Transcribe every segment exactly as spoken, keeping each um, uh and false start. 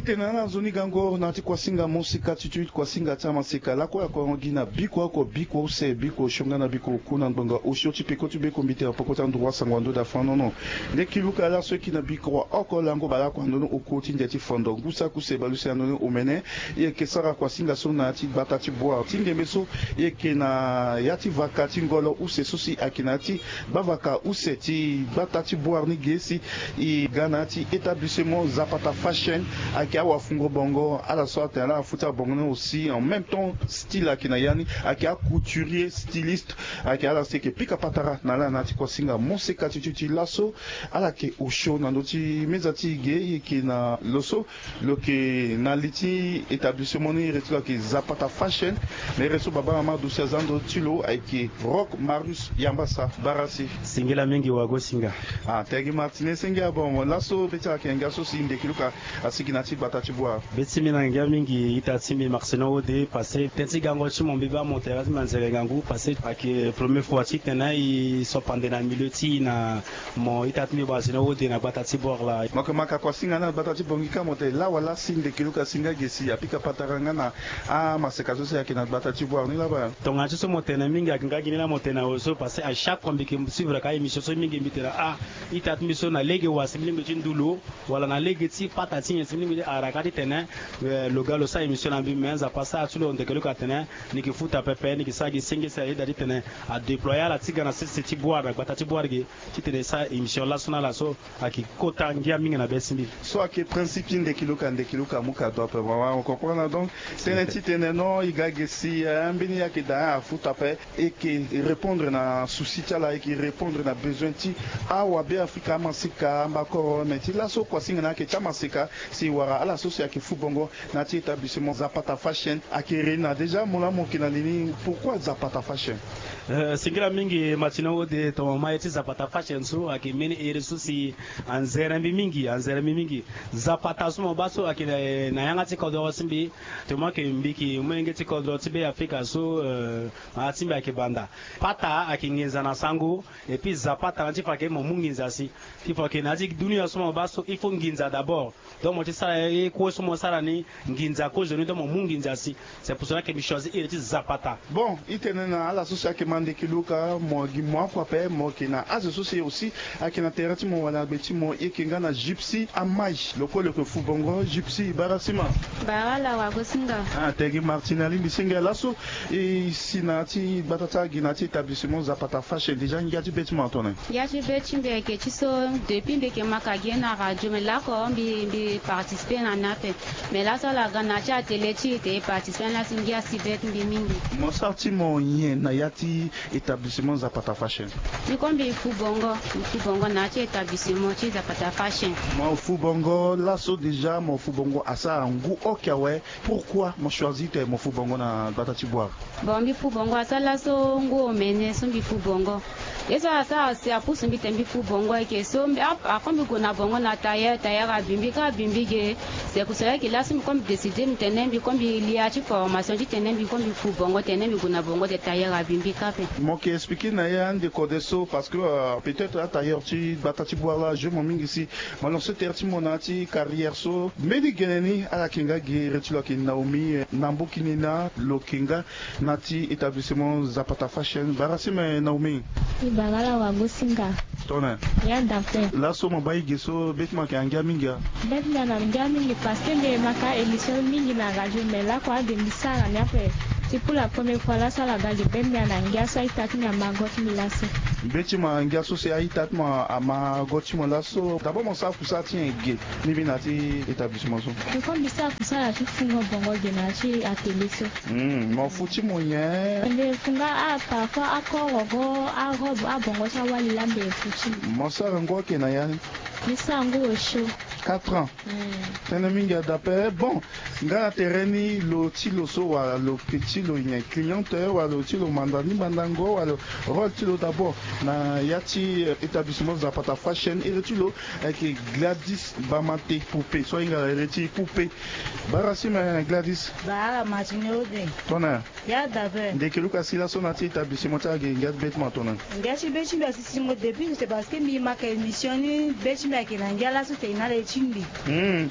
Tene na ala nzoni gango na ya ti kuasinga mosika ti ti kuasinga ti amaseka lakue akuarango gi na biko oko biko use biko osio nga na biko oku na ngbanga osio ti peko ti beko mbi tene na poko ti anduru asango ando da fanono. Nde kiluka laso eki na biko oko lango baleoko andono oku ti ndia ti fondo ngu saki use baleuse andono omene. E yeke sara kuasinga so na ya ti gbata ti boire ti ngembe so. E yeke na ya ti vaka ti ngolo use so si ayeke na ya ti gbavaka use ti gbata ti boire ni ge si e ga na ya ti établissement zapata fashion. Ayeke awafungo bongo ala so atene ala afu ti abongo ni aussi en même temps style ayeke na ya ni. Ayeke acouturier styliste. Ayeke ala so eke pika patara na ala na ya ti kuasinga moseka ti ti ti laso. Ala yeke osio na ndö ti meza ti e ge e yeke na lo so lo yeke na li ti établissement ni ere ti lo ayeke zapata fashion. Mere so baba na mama aduti aza ndö ti lo ayeke rock marius yambasa barasi. Singila mingi wago singa. Ah tegi martine senge abongo laso be ti ala yeke ngia so si ndeki luka asigi na ti gbata ti bua. Be ti mbi na ngia mingi ita ti mbi martine ode pase ten ti gango ti mo mbi baa mo tene ti manzere ngangu pase ayeke premier fois ti tene e so pande na milieu ti e na mo ita ti mbi bua asine ode na gbata ti bor la. Mo yeke maka kuasinga na gbata ti bongi ka mo tene lawa lasi ndeki luka singa ge si apika patara nga na amaseka so si ayeke na gbata ti bor ni laba. Tongana ti so mo tene mingi ayeke nga gi ni laa mo tene na oyo so pase a chaque fois mbi yeke suivre ka émission so mingi mbi tene ah ita ti mbi so na lege wa si mbi lingbi ti ndu lo wala na lege ti pata ti nyen si mbi lingbi ti ara ka ti tene lo ga lo sara émission na mbi me nzapa sara ti lo ndeke luka atene ni yeke futa pepe ni yeke sara gi senge si ayeda ti tene adéploye ala ti ga na sese ti boire na gbata ti boire ge titene e sara émission laso na ala so ayeke kota ngia mingi na be ti mbi. So ayeke principe ti ndeki luka ndeki luka amu kado ape mama o comprendre donc tene titene non e ga ge si ambeni ayeke daa afuta ape. E yeke répondre na souci ti ala e yeke répondre na besoin ti awabe afrika amaseka ambakoro me ti laso kuasinga na ayeke ti amaseka si e wara ala so si ayeke fu bongo na ya ti établissement zapata fashion. Ayeke rei na déjà mo laa mo yeke na li ni pourquoi zapata fashion? Singila mingi matina ode tongana ma ye ti zapata fashion so ayeke mbeni ere so si anzere mbi mingi anzere mbi mingi. Zapata so mo baa so ayeke na yanga ti kodro ti mbi. Tongana ayeke mbi yeke molenge ti kodro ti be afrika so na ya ti mbi ayeke banda pata ayeke nginza na sango. Et puis zapata na ti fa ayeke mo mu nginza si ti fa ayeke na ya ti dunia so mo baa so il faut nginza d'abord. Donc mo ti sara ye kue so mo sara ni nginza kozo ni donc mo mu nginza si. C'est pour cela que mbi choisi iri ti zapata. Bon i tene na ala so si ayeke ma ndeke luka mo gi mo aku ape mo yeke na azo so si aussi ayeke na tere ti mo wala na gbe ti mo e yeke nga na gypsy amai lo kue lo yeke fu bongo gypsy bara sima. Bara ala wago singa. Ah tegi martine alingbi singa laso. E si na ya ti gbata ti agi na ya ti établissement zapata fashion déjà ngia ti be ti mo atone. Ngia ti be ti mbi ayeke ti so depuis mbi yeke maka gi na radio me lako mbi mbi participer na ni ape. Me laso ala ga na ya ti atelier ti e te e participer na ni laso ngia si be ti mbi mingi. Mo sara ti mo nyen na ya ti établissement zapata fashion? Mbi ko mbi fu bongo mbi fu bongo na ya ti établissement ti zapata fashion. Mo fu bongo laso déjà mo fu bongo asara ngu oke awe. Pourquoi mo choisir te mo fu bongo na gbata ti boire? Bon mbi fu bongo asara laso ngu omene so mbi fu bongo. Ye so asara si apusu mbi te mbi fu bongo eke so mbi a a fo mbi gue na bongo na tailleur tailleur abi mbi ka abi mbi ge. C'est pour cela eke laso mbi ko mbi décider mbi tene mbi ko mbi lia ti formation ti tene mbi ko mbi fu bongo tene mbi gue na bongo te tailleur abi mbi ka ape. Mo yeke expliquer na ye ande kode so parce que peut-être atailleur ti gbata ti boire la ajour mo mingi si. Mo lancer tere ti mo na ya ti carrière so mbeni gene ni ala yeke nga gi re ti lo ayeke naomi na mboki ni na lo yeke nga na ya ti établissement zapata fashion bara si me naomi. Ibara ala wago singa. Tone. Ya dape. Laso mo baa ige so be ti mo ayeke angia mingi a? Be ti mbi ana ngia mingi parce que mbi yema ka émission mingi na radio me lakua ade mbi sara ni ape. Ti pour la première fois laso ala ga gi be ti mbi ana ngia so a-ita ti mbi ama go ti mbi laso. Be ti mo angia so si a-ita ti mo ama go ti mo laso d'abord mo sara kusala ti nyen ge? Mbi mbi na ya ti établissement so. Mbi ko mbi sara kusala ti fungo bongo ge na ya ti atelier so. Mo fu ti mo nyen? Mbi fu nga a parfois akoro go arobe abongo ti awali la mbi fu ti mo. Mo sara ngu oke na ya ni? Mbi sara ngu osio. Quatre ans. Tënë mingi adape bon. Nga na tere ni lo ti lo so wala lo pe ti lo nyen cliente wala lo ti lo manda ni mandango wala lo rôle ti lo d'abord na ya ti établissement zapata fashion iri ti lo. Ayeke gladys bamate poupe so ahinga na iri ti poupe. Bara si me gladys. Bara matine ode. Tona. Ya dabe. Ndeke luka si laso na ti établissement ti age ngia ti be ti mo atona. Ngia ti be ti mbi asi singo depuis c'est parce que mbi maka émission ni be ti mbi ayeke na ngia laso te e na le. ti mbi. Hmm.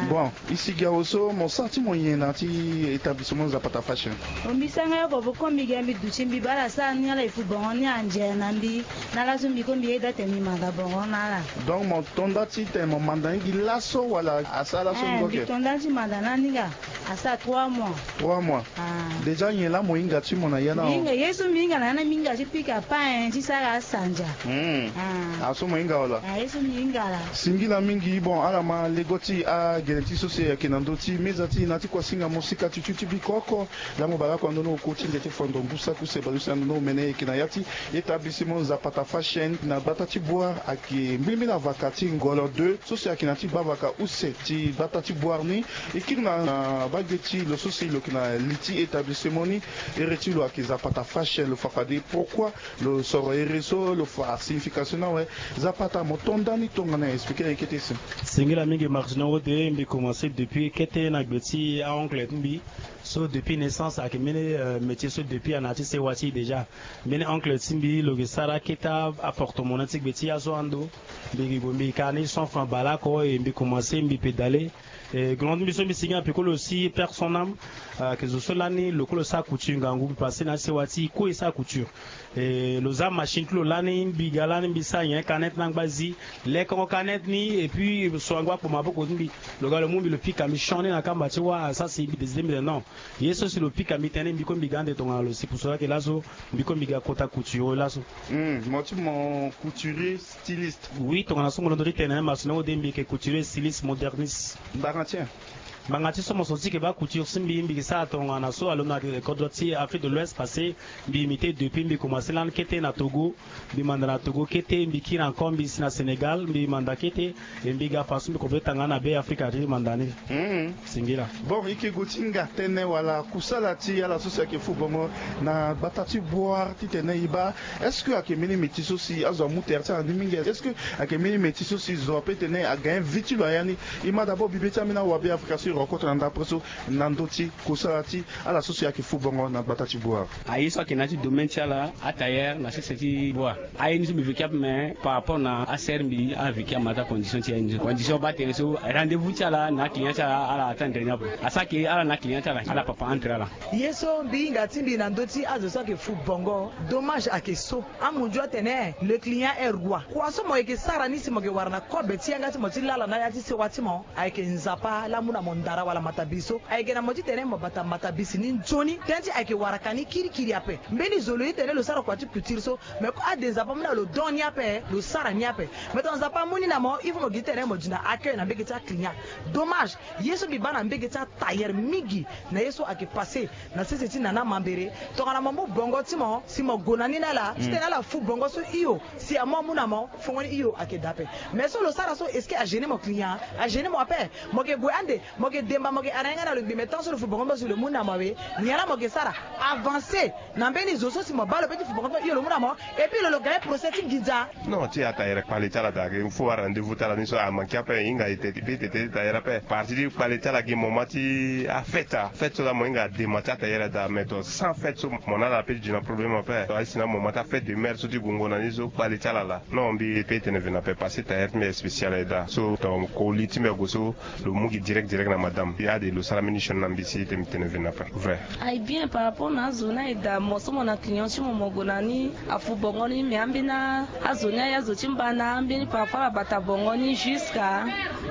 Bon, e sigi awe so mo sara ti mo nyen na ya ti établissement Zapata Fashion? Mo mbi sara nga oko boko mbi ga mbi duti mbi baa ala sara ni ala e fu bongo ni anze na mbi. Na laso mbi ko mbi yeda tene mbi manda bongo na ala. Donc mo to nda ti tene mo manda ni gi laso wala asara laso? Eh, ngo mbi ke to nda ti manda na ni nga. Asara trois mois. Trois mois. Ah. Déjà nyen laa mo hinga ti mo na ya na? Mbi hinga ye so mbi hinga na ya na mbi hinga ti pika pain ti sara asandia. Hmm. Ah. Aso mo hinga wala? Ah, ye so mbi hinga laa. Singila mingi. Bon, ala ma lego ti agene ti so si ayeke na ndö ti meza ti e na ti kuasinga mosika ti tio ti biko oko. Lango bale oko na ndö ni oko ti nde ti fondo ngu saki use bale use na ndö ni omene e yeke na ya ti établissement Zapata Fashion na gbata ti Bouar, ayeke mbilimbili na vaka ti Ngolo deux so si ayeke na ti gbavaka use ti gbata ti Bouar ni. E kiri na, na bage ti lo so si lo yeke na li ti établissement ni. Ere ti lo ayeke Zapata Fashion. Lo fa fade pourquoi lo soro ere so, lo fa signification ni awe. Zapata, mo to nda ni tongana expliquer na e kete si. Singila mingi Martino Wode, mbi commencer depuis kete na gbe ti a-oncle ti mbi. So depuis naissance ayeke mbeni, euh, métier so depuis ana ti sewa ti e déjà. Mbeni oncle ti mbi lo yeke sara kete aportemonnaies ti gbe ti azo ando. Mbi yeke gue mbi yeke ka ni cent francs bale oko e mbi commencer mbi pédaler. E grand ti mbi so mbi sigi na peko lo si père son âme, euh, ayeke zo so lani lo kue lo sara couture ngangu mbi passé na ti sewa ti e kue e sara couture. E lo za machine ti lo lani mbi ga lani mbi sara nyen canette na ngba zi. Lekongo canette ni et puis so angba akpo maboko ti mbi. Lo ga lo mu mbi lo pika mbi change na kamba ti wâ. Sara si mbi décidé mbi tene non. Ye so si lo pika mbi tënë mbi kue mbi ga ande tongana lo si pour cela que laso mbi kue mbi ga kota couture laso. Hmm, mo ti mo couturier styliste. Oui, tongana so mo londo ti tene Martino Wode mbi yeke couturier styliste moderniste. Ngbanga ti nyen? Ngbanga ti so mo so ti yeke baa couture ti mbi mbi yeke sara tongana so alondo na kodro ti Afrique de l'Ouest parce que mbi imité depuis mbi commencé lani kete na Togo. Mbi manda na Togo kete mbi kiri encore mbi si na Sénégal mbi manda kete. E mbi ga façon mbi kobe tanga na be Afrika ti manda ni. Hmm. Singila. Bon, e yeke gue ti hinga tënë wala kusala ti ala so si ayeke fu bongo na gbata ti Bouar titene e baa est-ce que ayeke mbeni métier so si azo amu tere ti ala ni mingi? Est-ce que ayeke mbeni métier so si zo ape tene aga vie ti lo aya ni? E ma d'abord bibe ti ambeni awabe Afrika so e rencontre na ndapre so na ndö ti kusala ti ala so si ayeke fu bongo na gbata ti Bouar. Aye so ayeke na ya ti domaine ti ala atailleur na sese ti Bouar. Aye ni so mbi veke ape me par rapport na asere mbi aveke ama ti acondition ti aye ni so condition baa tere so rendez-vous ti ala na aclient ti ala ala attendre ni ape. Asara ke ala na aclient ti ala ala papa entre ala. Ye so mbi hinga ti mbi na ndö ti azo so ayeke fu bongo dommage ayeke so amunzu atene le client est roi. Kua so mo yeke sara ni si mo yeke wara na kobe ti yanga ti mo ti lala na ya ti sewa ti mo. Ayeke Nzapa laa amu na mo ndara wala matabisi so ayeke na mo titene mo bata matabisi ni nzoni tënë ti ayeke waraka ni kirikiri ape. Mbeni zo lo ye tene lo sara kua ti culture so me ko ade Nzapa amu na lo don ni ape lo sara ni ape. Me tongana Nzapa amu ni na mo il faut mo gi titene mo di na accueil na mbege ti aclient. Dommage ye so mbi baa na mbege ti atailleur mingi na ye so ayeke passé na sese ti nana mambere tongana mo mu bongo ti mo si mo gue na ni na ala titene ala fu bongo so hio si amu amu na mo. Fongoni hio ayeke daa ape. Mais so lo sara so est-ce que agêner mo client? Agêner mo ape. Mo yeke gue ande mo yeke demba mo yeke ara yanga na lo ngbi mais tant so lo fu bongo mbi so lo mu na mo awe. Nyen laa mo yeke sara? Avancer na mbeni zo so si mo baa lo pe ti fu bongo ti mo hio lo mu na mo. Et puis lo lo gagne procès ti nginza. Non ti atailleur kpale ti ala daa il faut wara rendez-vous ti ala ni so amanke ape hinga e tete pe tete ti tailleur ape parti ti kpale ti ala gi moment ti afête afête so laa mo hinga dema ti atailleur daa mais to sans fête so mo na ala pe ti duti na problème ape. Aye si na moment ti afête de mère so ti gungo na ni so kpale ti ala laa. Non mbi pe tene vena ape parce que tailleur ti mbi aye spécial aye daa so tongana mo ko li ti mbi ague so lo mu gi direct direct na madame. Ade lo sara mbeni sioni na mbi si e tene mbi tene vena ape. Vrai. Aye bien par rapport na azo ni aye daa mo so mo na client ti mo mo gue na ni afu bongo ni mais ambeni azo ni aye azo ti mbana ambeni par rapport ala bata bongo ni jusqu'à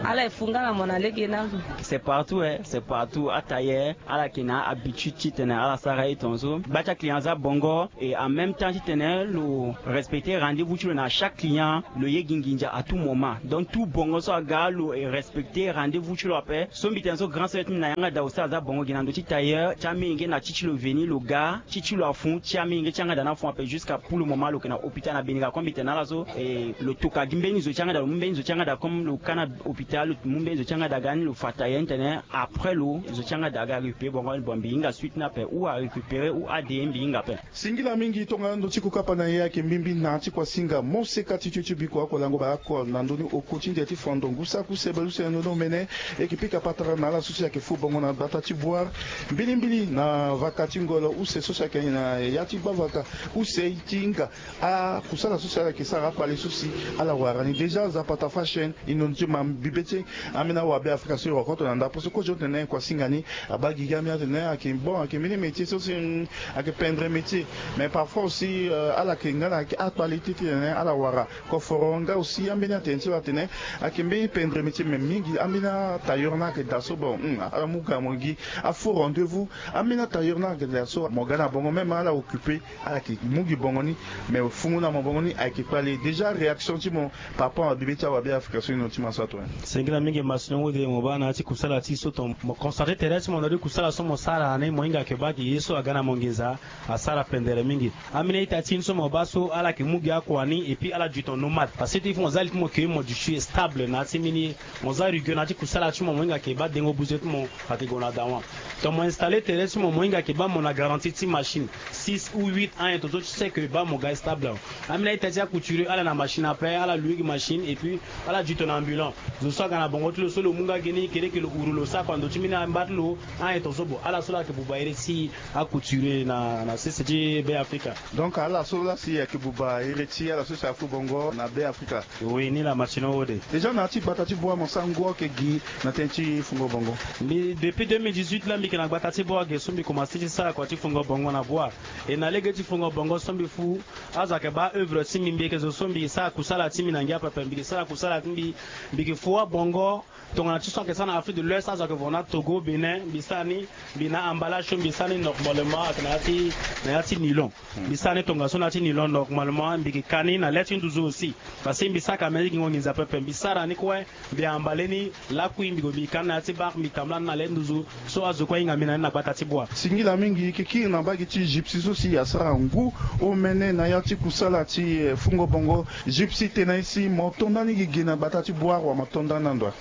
ala e fu nga na mo na lege ni azo. C'est partout eh, c'est partout atailleur ala yeke na habitude titene ala sara ye tongaso gba ti aclient aza bongo. Et en même temps titene lo respecter rendez-vous ti lo na chaque client lo ye gi nginza à tout moment donc tout bongo so aga lo respecter rendez-vous ti lo ape. So mbi tene so grand sœur ti mbi na yanga daa aussi aza bongo gi na ndö ti tailleur ti amenge na ti ti lo veni lo ga ti ti lo afu ti amenge ti yanga daa ni afu ape jusqu'à pour le moment lo yeke na hôpital na beniga comme mbi tene na ala so. Et lo toka gi mbeni zo ti yanga daa lo mu mbeni zo ti yanga daa comme lo ka na hôpital lo mu mbeni zo ti yanga daa ga ni lo fa tailleur ni tene après lo zo ti yanga daa ga récupérer bongo bon mbi hinga suite ni ape ou arécupérer ou ade mbi hinga ape. Singila mingi tongana ndo ti kokapa na ye ayeke mbimbi na ti kuasinga moseka ti tio ti biko oko lango bale oko na ndö ni oko ti ndia ti fondo ngu saki use bale use na ndö ni omene. E yeke pika patara Na ala so si ayeke fu bongo na gbata ti Bouar, mbilimbili na vaka ti ngolo use so si ayeke na ya ti gbavaka use ti hinga. Akusala so si ala yeke sara akpale so si ala wara ni déjà. Zapata Fashion, e nono ti ma bibe ti e. Ambeni awabe Afrika so e rokoto na ndapre so kozo tene kua singa ni. Abaa gigi ambeni atene ayeke bon, ayeke mbeni métier so si, mm, ayeke pendre métier. Mais parfois aussi, euh, ala yeke nga na akpale ti tene ala wara koforo nga aussi ambeni atene ti lo atene ayeke mbeni pendre métier, mais mingi ambeni atailleur ni ayeke daa so bon, hmm, ala mu ga mo gi afu rendez-vous. Ambeni atailleur ni ayeke daa so mo ga na bongo même ala occupé, ala yeke mu gi bongo ni. Mais fungo na mo bongo ni ayeke kpale. Déjà réaction ti mo par rapport na bibe ti awabe Afrika so e nono ti ma so ato. Singila mingi masini ode mo baa na ya ti kusala ti so ton mo constate tere ti mo na di kusala so mo sara ni mo hinga yeke baa gi ye so aga na mo nginza. Asara pendere mingi. Ambeni a-ita ti ni so mo baa so ala yeke mu gi akua ni et puis ala duton nomade parce que ti fo mo za li ti mo ke mo duti stable na ya ti mbeni mo za rugueux na ya ti kusala ti mo mo hinga yeke baa dengo buze ti mo ayeke gue na dawa. Donc mo installé tere ti mo mo hinga yeke baa mo na garantie ti machine six ou huit ans et tonso ti seke baa mo ga stable awe. Ambeni a-ita ti acouturier ala na machine ape ala loué gi machine et puis ala duton na ambulant. Zo so aga na bongo ti lo so lo mu nga gi ni kede yeke lo huru lo sara kua ndo ti mbeni amba ti lo. An e tonso bon ala so la yeke buba ere ti acouturier na na sese ti Be Afrika. Donc ala so la si ayeke buba ere ti ala so si afu bongo na Be Afrika. Oui ni la matino ode. Déjà na ya ti gbata ti Bouar mo sara ngu ayeke gi na tënë ti fungo bongo? Mbi depuis deux mille dix-huit la mbi yeke na gbata ti Bouar ge so mbi komanse ti sara kua ti fungo bongo na Bouar. E na lege ti fungo bongo so mbi fu azo ayeke baa œuvre ti mbi mbi yeke zo so mbi sara kusala ti mbi na ngia pepe mbi yeke sara kusala ti mbi. Mbi yeke fu abongo. Tongana ti so ayeke sara na Afrique de l'Ouest azo ayeke vo na Togo Bénin mbi sara ni. Mbi na emballage so mbi sara ni normalement ayeke na ya ti na ya ti nilon. Mbi sara ni tongaso na ya ti nilon normalement mbi yeke ka ni na le ti nduzu aussi. Parce que mbi sara ka mbi na ti gingo nginza pepe mbi sara ni kue. Mbi emballé ni lakui mbi gue mbi ka ni na ya ti banque mbi tambula ni na le ti nduzu. So azo kue ahinga mbi na ni na gbata ti Bouar. Singila mingi e yeke kiri na mbage ti Gypsy so si asara ngu omene na ya ti kusala ti, eh, fungo bongo. Gypsy tena ye si mo to ndani gi ge na gbata ti Bouar wala mo to ndani na ndo?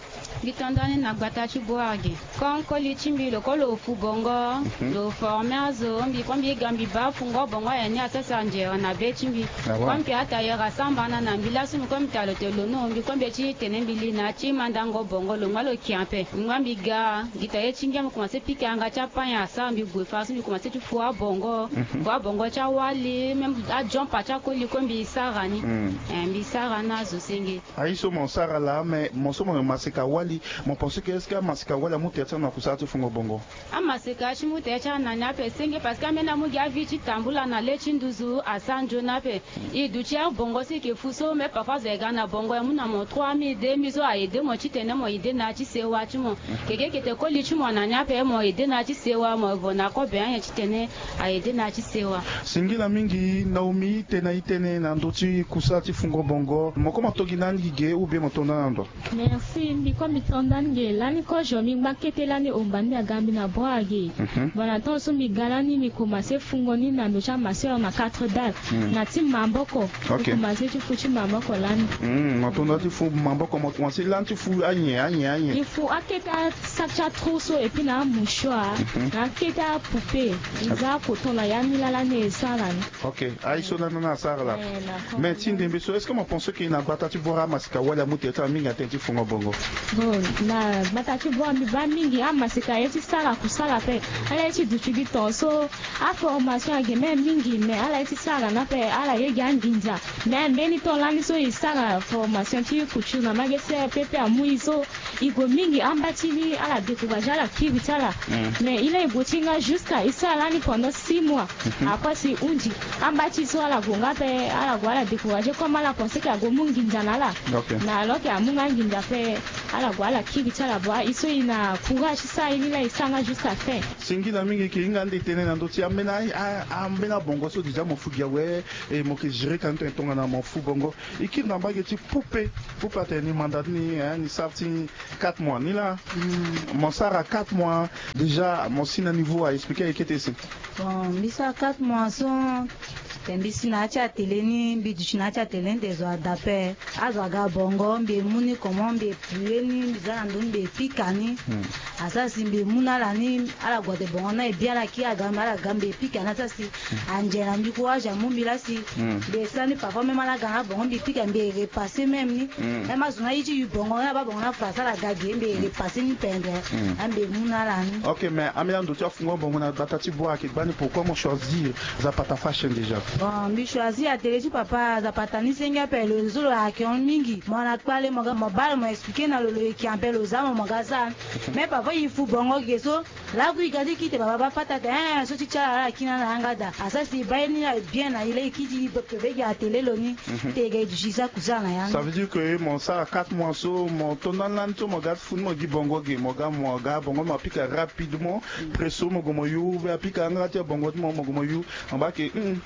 Mbi to ndani na gbata ti Bouar ge. Comme koli ti mbi lo kue lo fu bongo. Lo forme azo mbi kue mbi ga mbi baa fungo bongo aye ni asese anzere na be ti mbi. Comme ke atailleur asambana na mbi laso mbi kue mbi ta lo te lo no mbi kue mbi ye ti tene mbi li na ya ti mandango bongo lo ngba lo kia ape. Mbi ngba mbi ga gi ta ye ti ngia mbi komanse pika yanga ti apanya asara mbi gue fa so mbi komanse ti fu abongo. Fu abongo ti awali même ajompa ti akoli kue mbi sara ni. Eh, mbi sara na azo senge. Aye so mo sara laa mais mo so mo yeke maseka wali. Mo pense ke est-ce que amaseka wali amu tere ti ala na kusala ti fungo bongo? Amaseka ti mu tere ti ala na ni ape senge parce que ambeni amu gi avi ti tambula na le ti nduzu asara nzoni ape. E duti abongo so e yeke fu so mais parfois azo e ga na bongo e mu na mo trois mille deux mille so a aidé mo titene mo aidé na ya ti sewa ti mo. Keke eke te koli ti mo na ni ape mo aidé na ya ti sewa mo vo na kobe anyen titene aidé na ya ti sewa. Singila mingi Naomi tena e tene na ndö ti kusala ti fungo bongo mo koma to gi na ni gi ge ou bien mo to ndani na ndo? Merci mbi kue mbi to ndani ge lani kozo mbi ngba kete lani omba ni aga mbi na bro age. Bon na temps so mbi ga lani mbi komanse fungo ni na ndo ti amasseur na quatre dalles. Na ti maboko. Mbi komanse ti fu ti maboko lani. Mo to ndani ti fu maboko mo komanse lani ti fu anyen anyen anyen? Mbi fu akete asak ti atrou so et puis na amouchoir na akete apoupée. Mbi za akoton na ya ni lala ni e sara ni. Ok. Aye so lani na asara laa. Mais ti ndembe so est-ce que mo pense ke na gbata ti bora amaseka wali amu tere ti ala mingi na tënë ti fungo bongo? Bon na gbata ti bora mbi baa mingi amaseka aye ti sara kusala ape. Ala ye ti duti gi tongaso aformation ayeke même mingi mais ala ye ti sara ni ape ala ye gi anginza. Mais mbeni temps lani so e sara formation ti couture na magese pepe amu e so e gue mingi amba ti ni ala découragé ala kiri ti ala. Mais e laa e gue ti nga jusqu'à e sara lani pendant six mois. Après si e hunzi amba ti so ala gue nga ape ala gue ala découragé comme ala pense ke ague mu nginza na ala. Mais alors ke amu nga nginza ape ala gue ala kiri ti ala bua e so e na courage ti sara ye ni laa e sara nga jusqu'à fin. Singila mingi e yeke hinga ande tene na ndö ti ambeni ambeni abongo so déjà mo fu gi awe. E mo yeke gérer ka ni tongana mo fu bongo. E kiri na mbage ti poupée. Poupée atene ni manda ti ni ni sara ti quatre mois ni laa. Mo sara quatre mois déjà mo si na niveau a expliquer e kete si. Bon mbi sara quatre mois so. Te mbi si na ya ti atele ni mbi duti na ya ti atele ni te zo ada ape. Azo aga bongo mbi e mu ni comment mbi e plie. Ni mbi za na ndö ni mbi pika ni. Asara si mbi mu na ala ni, ala gue ate bongo na e bien, ala kiri aga mbi, ala ga mbi pika ni. Asara si anze na mbi courage amu mbi laa si mbi sara ni parfois même ala ga na bongo mbi pika mbi repasser même ni. Même azo na aye ti yu bongo na abaa bongo na français ala ga ge mbi repasser ni pendre. Ambi mu na ala ni. Ok, mais ambeni ando ti afungo bongo na gbata ti boi ayeke gbani, pourquoi mo choisir Zapata Fashion déjà? Bon, mbi choisir atelier ti papa Zapata ni senge ape, lo zo lo ayeke hon mingi. Mo na kpale mo ga mo baa lo mo expliquer na lo, lo yeke ape lo za mo mo ga sara. Mais parfois e fu bongo ge so, laku e ga ti kite baba baa fata ate, eh, so ti ti ala ala kiri na ala yanga daa. Asara si e baa ye ni na e bien na e laa e kiri ti e pepe ge atelier lo ni. Te e ga e duti e sara kusara na yanga. Ça veut dire que mo sara quatre mois so mo to ndani lani so mo ga ti fu ni mo gi bongo ge, mo ga mo ga bongo mo pika rapidement. Presso mo gue mo yu, ou bien apika yanga ti abongo ti mo mo gue mo yu. Mo baa ke, hmm,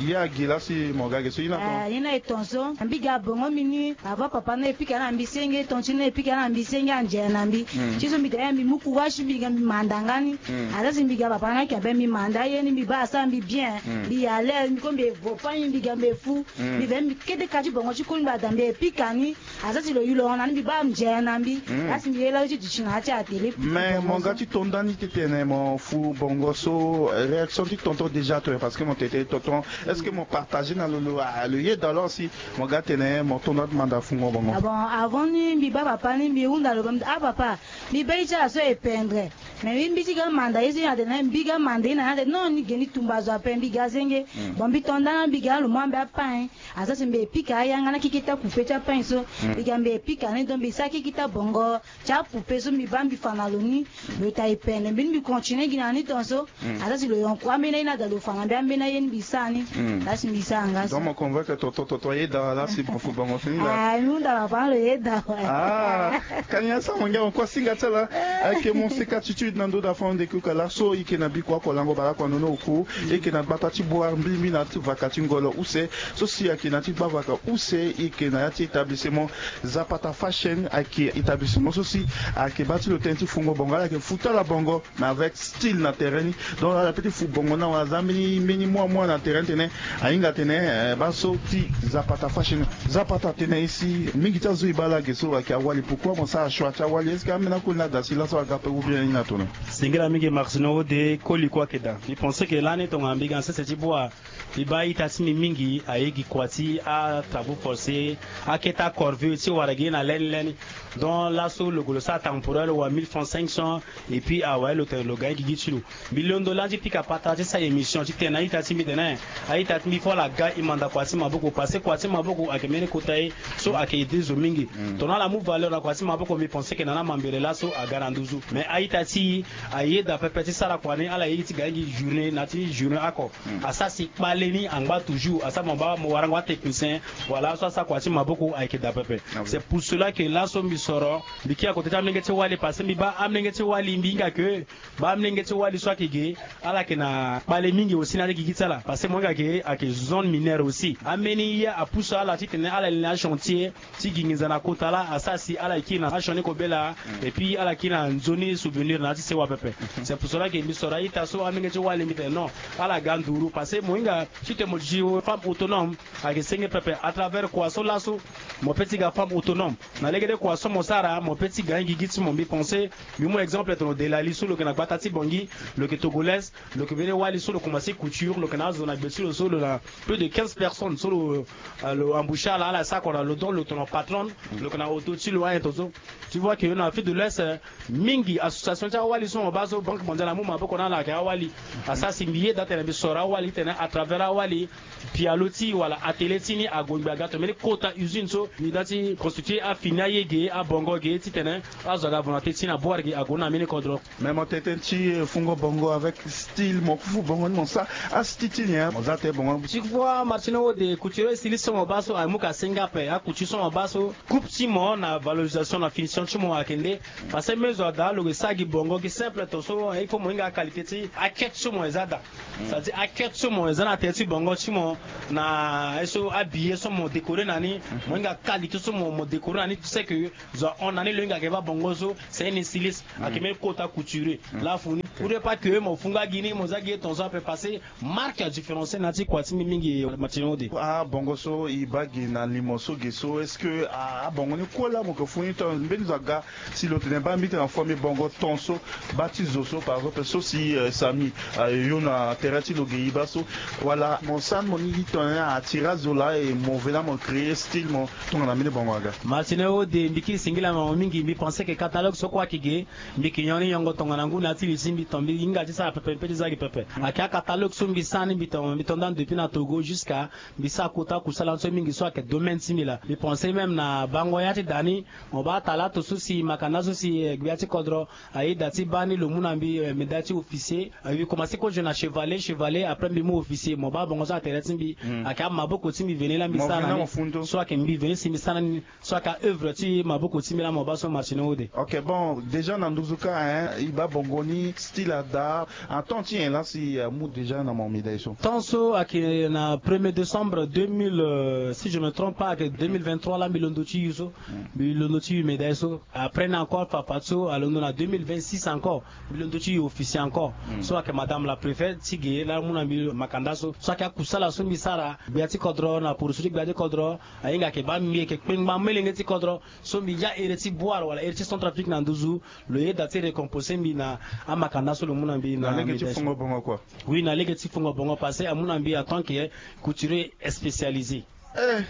ye agi laa si mo ga ge so ye ni ape. Ah, ye ni aye ton so. Mbi ga bongo mbi ni, avant papa ni e pika na mbi senge, ton ti ni e pika na mbi senge, anze na mbi. Ti so mbi daa mbi mu courage mbi ga mbi manda nga ni. Asara si mbi ga papa ni ayeke ape mbi manda ye ni mbi baa asara mbi bien. Mbi à l'aise, mbi ko mbi evo pa ni mbi ga mbi efu. Mbi ve mbi kete ka ti bongo ti koli mbi ada mbi e pika ni. Asara si lo yu lo hon na ni mbi baa anze na mbi. Asara si mbi ye laa ti duti na ya ti atelier. Mais mo ga ti to ndani titene mo fu bongo so, réaction ti tonton déjà to, parce que mo tene tonton, est-ce que mo partager na lo, lo, ah, lo yeda alors si mo ga tene mo to ndani manda fungo bongo? Ah bon, avant ni mbi baa papa ni mbi hunda lo, ah papa, mbi baa ye ti ala so e pendre. Mais mbi, mbi ti ga manda ye so ye na tene mbi ga manda ye na ni ate non ni ge ni tumba zo ape mbi ga senge. Bon mbi to ndani mbi ga lo mu ambe apain. Asara si mbi e pika ayanga na keke ti akupe ti apain so. Mbi ga mbi e pika ni donc mbi sara keke ti abongo ti akupe so mbi baa mbi fa na lo ni. Lo ta e pendre mbi ni mbi continue gi na ni ton so. Asara si lo yonku ambeni aye ni ada lo fa na mbi ambeni aye ni mbi sara ni. Laa si mbi sara nga so. Donc mo convaincre tonton, tonton ayeda laa si mo fu bongo fini laa. Ah, mbi hunda papa lo yeda. Ah, kani asara mo ngia mo kue asinga ti ala. Ayeke mo seka attitude na ndö da fande kuka laso e yeke na bikua oko lango bale oko na nono oku. E yeke na gbata ti boi mbi mbi na ti vaka ti ngolo use. So si ayeke na ti gbavaka use e yeke na ya ti établissement Zapata Fashion, ayeke établissement so si ayeke baa ti lo tënë ti fungo bongo, ala yeke fu ti ala bongo, mais avec style na terrain ni. Donc ala peut ti fu bongo na awa aza mbeni mbeni mua mua na terrain tene ahinga tene, eh, baa so ti Zapata Fashion. Zapata tene e si mingi ti azo e baa laa ge so ayeke awali, pourquoi mo sara choix ti awali? Est-ce que ambeni akoli ni ada si laso aga ape ou bien ye ni ato na? Singila mingi Martino Ode, koli kue ayeke daa. Mbi pense que lani tongana mbi ga na sese ti boi. Mbi baa a-ita ti mbi mingi aye gi kua ti atravaux forcés, akete acorvée ti wara gi ye na lani lani. Donc laso lo gue lo sara temporaire wala mille francs cinq cents, et puis awe lo tene lo ga ye gigi ti lo. Mbi londo lani ti pika patara ti sara émission titene a-ita ti mbi tene a-ita ti mbi fo ala ga e manda kua ti maboko, parce que kua ti maboko ayeke mbeni kota ye so ayeke aider zo mingi. Tongana ala mu valeur na kua ti maboko mbi pense que na ni amambere laso aga na nduzu. Mais a-ita ti e ayeda pepe ti sara kua ni, ala ye ti ga ye gi journée na ya ti journée oko. Asara si kpale ni angba toujours, asara mo baa mo warango atechnicien, voilà, so asara kua ti maboko ayeke daa pepe. C'est pour cela que laso mbi soro, mbi kiri na kote ti amolenge ti wali, parce que mbi baa amolenge ti wali mbi hinga que baa amolenge ti wali so ayeke ge, ala yeke na kpale mingi aussi na ya ti gigi ti ala, parce que mo hinga que ayeke zone mineure aussi. Ambeni ye apusu ala titene ala li na achantier ti gi nginza na kota laa, asara si ala kiri na achantier ni kobela, et puis ala kiri na nzoni souvenir na ya ti sewa pepe. C'est pour cela que mbi soro a-ita so amolenge ti wali mbi tene non, ala ga nduru, parce que mo hinga titene mo duti femme autonome, ayeke senge pepe. À travers kua so laso mo peut ti ga femme autonome. Na legede kua so mo sara mo peut ti ga ye gigi ti mo. Mbi pense, mbi mu exemple tongana Delali so lo yeke na gbata ti Bangui, lo yeke togolaise, lo yeke mbeni wali so lo commencer couture, lo yeke na azo na gbe ti lo so lo na plus de quinze personnes so lo, euh, lo embaucher ala, ala sara kua na lo, donc lo tongana patronne, lo yeke na auto ti lo, ayen tongaso. Tu vois que na Afrique de l'Ouest, euh, mingi association ti awali so mo baa so Banque Mondiale amu maboko na ala ayeke awali. Asara si mbi yeda titene mbi soro awali titene à travers awali pialo ti wala atelier ti ni ague ngbii aga to mbeni kota usine so mbi da ti constituer afini aye ge, abongo ge titene azo aga volonté ti ni aboire ge ague na mbeni kodro. Mais mo tene tënë ti, eh, fungo bongo avec style, mo fu bongo ni mo sara astyle ti ni, hein, mo za tënë bongo. Ti kua Martino Ode, couturier styliste so mo baa so amu ka senga ape, acouture so mo baa so, coupe ti mo na valorisation na finition ti mo ayeke nde. Parce que même zo ada lo yeke sara gi bongo gi simple tongaso, il faut mo hinga qualité ti akete so mo e za daa. C'est-à-dire akete so mo e za na tere ti bongo ti mo, na ye so abillet so mo décorer na ni, mo hinga qualité so mo, mo décorer na ni, tu sais que zo ahon na ni lo hinga ayeke baa bongo so, c'est un styliste. Ayeke même kota couturier. Laa fu ni Pour ne pas que mo funga gi ni, mo za gi ye ton so ape passé, marque ya différencier na ya ti kua ti mbi mingi, Martino Ode. Abongo so e baa gi na limo so ge so, est-ce que abongo ni kue laa mo ke fu ni ton mbeni zo aga si lo tene baa mbi tene na famille bongo ton so, baa ti zo so par exemple so si Samy ayo na terrain ti lo ge e baa so, wala mo sara ni mo ni tongana atira zo laa e mo vena mo créer style mo tongana mbeni bongo aga? Martino Ode, mbi kiri singila mo mingi, mbi pensé que catalogue so kue ayeke ge, mbi yeke nyon ni nyongo tongana ngu na ya ti li ti mbi ton mbi hinga ti sara pepe, mbi pe ti za gi pepe. Ayeke acatalogue so mbi sara ni mbi ton, mbi ton ndani depuis na Togo jusqu'à mbi sara kota kusala ni so mingi so ayeke domaine ti mbi laa. Mbi pensé même na bango ya ti da ni, mo baa talato so si makanda so si gbia ti kodro aye da ti baa ni lo mu na mbi médaille ti officier. Mbi commencé kozo na chevalier, chevalier, après mbi mu officier. Mo baa bongo so na tere ti mbi. Ayeke amaboko ti mbi veni laa mbi sara na ni. So ayeke mbi veni si mbi sara na ni. So ayeke aœuvre ti maboko ti mbi laa mo baa so, Martino Ode. Ok, bon, déjà na nduzu kâ hein, e baa bongo ni style ada, temps ti nyen laa si amu déjà na mo médaille so? Temps so ayeke na premier décembre deux mille, si je me trompe pas, ayeke deux mille vingt-trois laa mbi londo ti yu so. Mbi londo ti yu médaille so. Après ni encore fafadeso alondo na deux mille vingt-six encore. Mbi londo ti yu officier encore. So ayeke madame la préfète ti ge laa amu na mbi makanda so. So ayeke akusala so mbi sara gbia ti kodro na poroso ti gbia ti kodro. Ahinga ayeke baa mbi yeke kpengba melenge ti kodro. So mbi ya ere ti Bouar wala ere ti Centrafrique na nduzu, lo yeda ti récompenser mbi na amakanda so lo mu na mbi na lege ti fungo bongo kua. Oui, na lege ti fungo bongo parce que amu na mbi en tant que couturier spécialisé. Eh,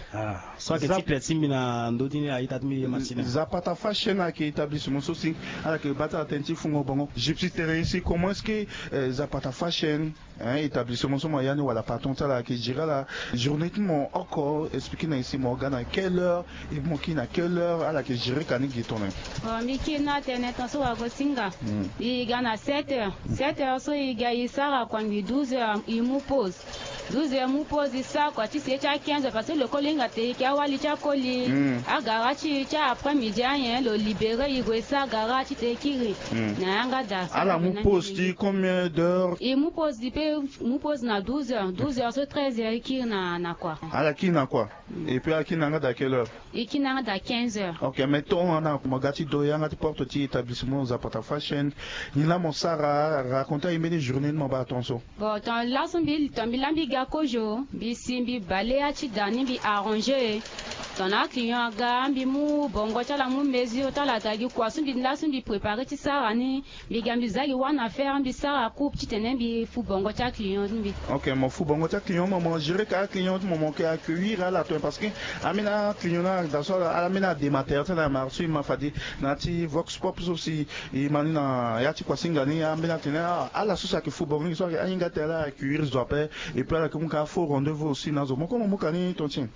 so ayeke titre ti mbi na ndö ti ni, a-ita ti mbi ye Martino. Zapata Fashion ayeke établissement so si ala yeke baa ti ala tënë ti fungo bongo. Gypsy tene ye si comment est-ce que Zapata Fashion, hein, établissement so mo ya ni wala patron ti ala ayeke gérer ala journée ti mo oko, expliquer na ye si mo ga na quelle heure et mo kiri na quelle heure, ala yeke gérer ka ni gi tongana? Bon, mbi kiri ni atene ton so wago ti nga. Mbi ga na sept heures. Sept heures so e ga e sara kua ngbi douze heures e mu pause. Douze heures mu pause e sara kua ti si ye ti a quinze heures parce que lekoli hinga tene e yeke awali ti akoli. Agara ti e ti après midi anyen lo libérer e gue e sara gara ti tene e kiri. Na yanga daa. Ala mu pause ti combien d'heures? E mu pause e pe mu pause na douze heures. Douze heures so treize heures e kiri na, na kua. Ala kiri na kua. Et puis ala kiri na yanga daa quelle heure? E kiri na yanga daa quinze heures. Ok, mais tongana mo ga ti do yanga ti porte ti établissement Zapata Fashion, nyen laa mo sara? Raconter aye mbeni journée ni mo baa ton so. Bon, ton laso mbi, ton mbi laa mbi ga kozo, mbi si mbi bale ya ti da ni mbi arranger. Tongana aclient aga mbi mu bongo ti ala mu mesure ti ala daa gi kua so mbi laso mbi préparer ti sara ni. Mbi ga mbi za gi wana affaire mbi sara coupe titene mbi fu bongo ti aclient ti mbi. Ok, mo fu bongo ti aclient mo, mo gérer ka aclient ti mo, mo yeke accueillir ala tongana parce que ambeni aclient ni daa so ala, ala ambeni adematere ti ala ma so e ma fade na ya ti Vox Pop so si e ma ni na ya ti kuasinga ni, ambeni atene ala so si ayeke fu bongo ni so ayeke ahinga ti ala accueillir zo ape. Et puis ala yeke mu ka faux rendez-vous aussi na azo. Mo kue mo mu ka ni ton ti nyen?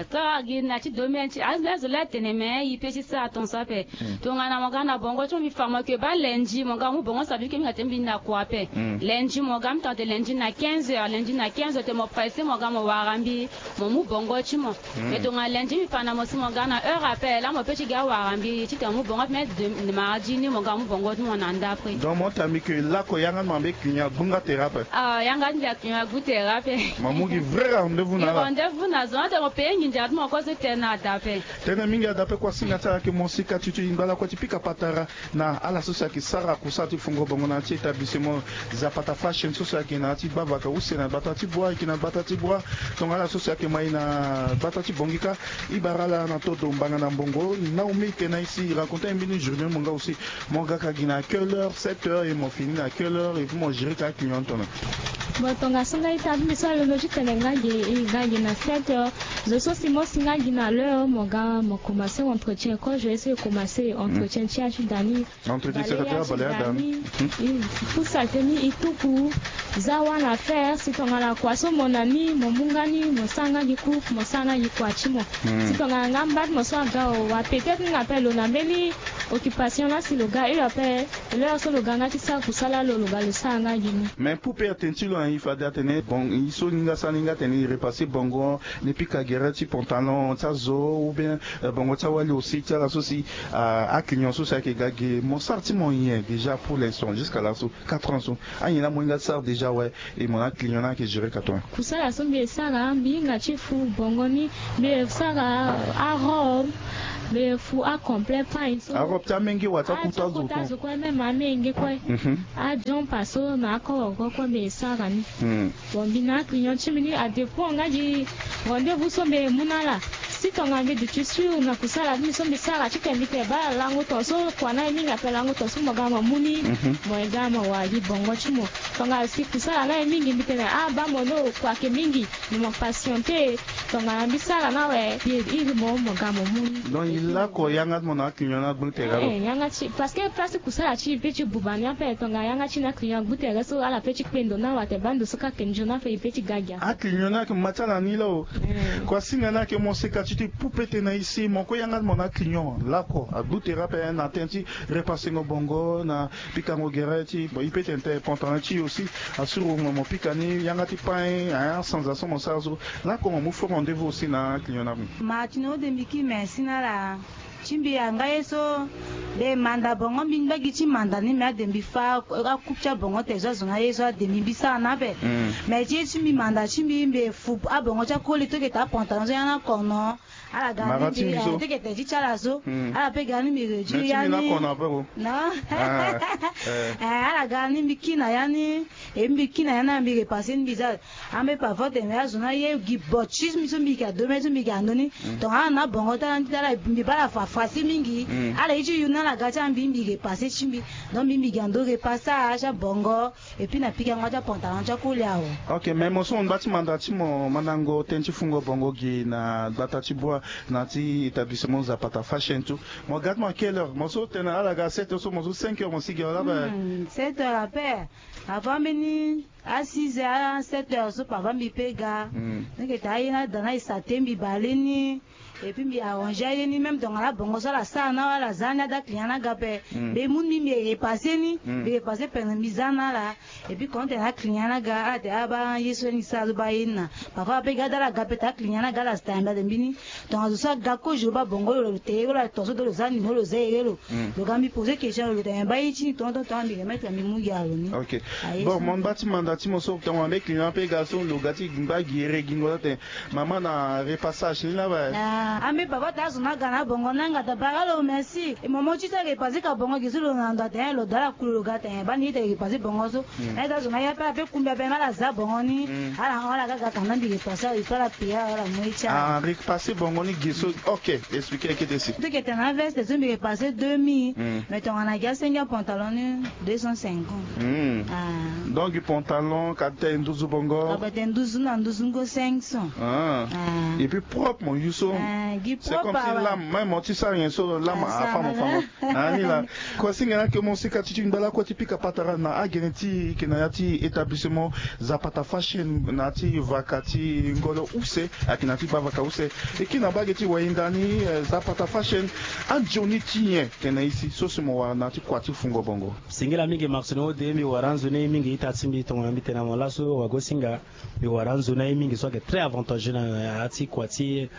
Tongana gi na ti domaine ti azo laa atene me e pe ti sara ton so ape. Tongana mo ga na bongo ti mo mbi fa mo yeke baa lundi mo ga mo mu bongo so ape mbi ke mbi ga tene mbi na kua ape. Lundi mo ga mbi tongana tene lundi na quinze heures, lundi na quinze heures tene mo pressé mo ga mo wara mbi mo mu bongo ti mo. Mais tongana lundi mbi fa na mo si mo ga na heure ape laa mo pe ti ga wara mbi titene mo mu bongo ape, mais mardi ni mo ga mo mu bongo ti mo na ndapre. Donc mo tene mbi ke lako yanga ti mo ambe client agbu nga tere ape. Ah, yanga ti mbi aclient agbu tere ape. Mo mu gi vrai rendez-vous na ala. Rendez-vous na zo ate mo pe nginza ti mo kue so tene na dape. Tënë mingi adape kuasinga ti ala yeke mo sika ti ti ngba lakue ti pika patara na ala so si ayeke sara kusala ti fungo bongo na ya ti établissement Zapata Fashion so si ayeke na ya ti gbavaka use na gbata ti bua, ayeke na gbata ti bua. Tongana ala so si ayeke ma e na gbata ti bongi kâ, e bara ala na todo mbanga na mbongo. Naomi tene na e si raconter mbeni journée mo nga aussi. Mo ga ka gi na quelle heure? Sept heures et mo fini na quelle heure? Et puis mo gérer ka client tongana? Bon, tongaso nga ita ti mbi so alondo ti tene nga gi, e ga gi na sept heures. Zo so si mo si nga gi na l'heure mo ga mo commencer entretien. Quand je vais commencer entretien ti ya ti da ni. Entretien, c'est-à-dire bale ya ti da ni. E fu saleté ni e tuku. Za wana affaire si tongana kua so mo na ni mo mu nga ni mo sara nga gi coupe mo sara nga gi kua ti mo. Si tongana nga mba ti mo so aga o wa peut-être nga ape lo na mbeni occupation laa si lo ga heure ape. L'heure so lo ga nga ti sara kusala lo lo ga lo sara nga gi ni. Mais pour pe atene ti lo na e fade atene bon e so ni nga sara ni nga tene e repasser bongo ni pika gere ti pantalon ti azo ou bien bongo ti awali aussi ti ala so si aclient so si ayeke ga ge mo sara ti mo nyen déjà pour l'instant jusqu'à laso quatre ans so? Anyen laa mo hinga ti sara déjà awe? E mo na aclient ni ayeke gérer ka tongana? Kusala so mbi e sara mbi hinga ti fu bongo ni. Mbi e sara arobe. Mbi fu acomplet pain so. Arobe ti amenge wa ti akuta zo kue. Même amenge kue. Ajumper so na akoro kue mbi sara ni. Bon, mbi na aclient ti mbi ni adépend nga gi rendez-vous so mbi mu na ala. Si tongana mbi duti sûr na kusala ti mbi so mbi sara ti tene mbi tene baa lango tongaso kua na ye mingi ape, lango tongaso mo ga mo mu ni. Mo ye ga mo wara gi bongo ti mo. Tongana si kusala na ye mingi mbi tene ah baa mo no kua ayeke mingi. Mo patienter. Tongana mbi sara na awe mbi iri mo mo ga mo mu ni. Donc e lako yanga ti mo na aclient ni agbu tere lo? Eh, yanga ti, parce que place ti kusala ti e pe ti buba ni ape. Tongana yanga ti na aclient agbu tere so ala pe ti kpe ndo na awe atene baa ndo so kâ ayeke nzoni ape e pe ti ga gi ape. Aclient ni ayeke ma ti ala ni laa o. Kua singa ni ayeke mo seka ti ti pu pe tene na e si mo kue yanga ti mo na aclient lako agbu tere ape na tënë ti repassengo bongo na pikango gere ti bon e pe tene tene pantalon ti e aussi. Asuru mo mo pika ni yanga ti pain, hein, asanza so mo sara so. Lako mo mu faux rendez-vous aussi na aclient ni ape. Ma ti na ode mbi kiri merci na ala. Ti mbi anga ye so mbi manda bongo mbi ngba gi ti manda ni me ade mbi fa akupe ti abongo tene so azo na ye so ade mbi mbi sara ni ape. Mais ti ye ti mbi manda ti mbi mbi fu abongo ti akoli to yeke taa pantalon so ya na kono. Ala ga ni mbi teke tene ti ti ala so. Ala pe ga ni mbi réduire ya ni. Non. Ala ga ni mbi kiri na ya ni. E mbi kiri na ya ni mbi repasser ni mbi za. Ambe parfois tene azo na ye gi bo ti mbi so mbi yeke ado me so mbi yeke ando ni. Tongana ala na bongo ti ala mbi baa ala fa fasi mingi. Ala ye ti yu ni ala ga ti ala mbi mbi repasser ti mbi. Donc mbi mbi yeke ando repassage ti abongo. Et puis na pikango ti apantalon ti akoli awe. Ok, mais mo so mo ngba ti manda ti mo mandango tënë ti fungo bongo gi na gbata ti bua na ti établissement Zapata Fashion tout. Mo ga ti mo à quelle heure? Mo so tene ala ga sept heures so mo so cinq heures mo si gi awe laba. Sept heures ape. Avant mbeni a six heures a sept heures so papa mbi pe ga. Neke ta aye na da na e sa te mbi bale ni. Et puis mbi arranger aye ni même tongana bongo so ala sara na ala za ni ada client na ga ape. Mbi mu ni mbi repasser ni. Mbi repasser pendant mbi za na ala. Et puis quand tene aclient na ga ala tene abaa ye so ni sara so baa ye ni na. Parfois ape ga da ala ga ape tene aclient na ga ala sta yamba tene mbini. Tongana zo so aga kozo lo baa bongo lo lo te ye lo lo tongaso do lo za ni mo lo za ere lo. Lo ga mbi poser question lo lo tene baa ye ti ni tongaso tongaso mbi remettre mbi mu gi ala lo ni. Ok. Bon mo ngba ti manda ti mo so tongana mbe client ape ga so lo ga ti ngba gi ere gingo so tene mama na repassage ni laba. Ambe papa ta azo na ga na bongo na nga ta bara lo merci. E momo ti ta repasser ka bongo gi so lo na ndo atene lo da ala kulu lo ga tene baa ni ye ta repasser bongo so. Aye ta zo na ye ape ape kumbi ape na ala za bongo ni. Ala hon ala ga ga tanga mbi repasser ala il faut ala payer ala mu ye ti ala. Ah repasser bongo ni gi so. Ok. Expliquer kete si. Teke tene na veste so mbi repasser deux mille. Mais tongana gi asengi apantalon ni deux cent cinquante. Donc pantalon ka tene nduzu bongo. Ka tene nduzu na nduzu ngo cinq cents. Et puis propre mo yu so. Gi propre awa. C'est comme si lame même mo ti sara nyen so lame afa mo fa mo. Ani la. Kua singa na ke mo sika ti ti ngba lakue ti pika patara na agene ti e ke na ya ti établissement Zapata Fashion na ti vaka ti ngolo use. Ayeke na ti bavaka use. E kiri na mbage ti wayinda ni Zapata Fashion. Anzoni ti nyen tene na e si so si mo wara na ti kua ti fungo bongo? Singila mingi Martino ode mbi wara anzoni mingi ita ti mbi tongana mbi tene na mo laso wagosinga. Mbi wara anzoni aye mingi so ayeke très avantageux na ya ti kua ti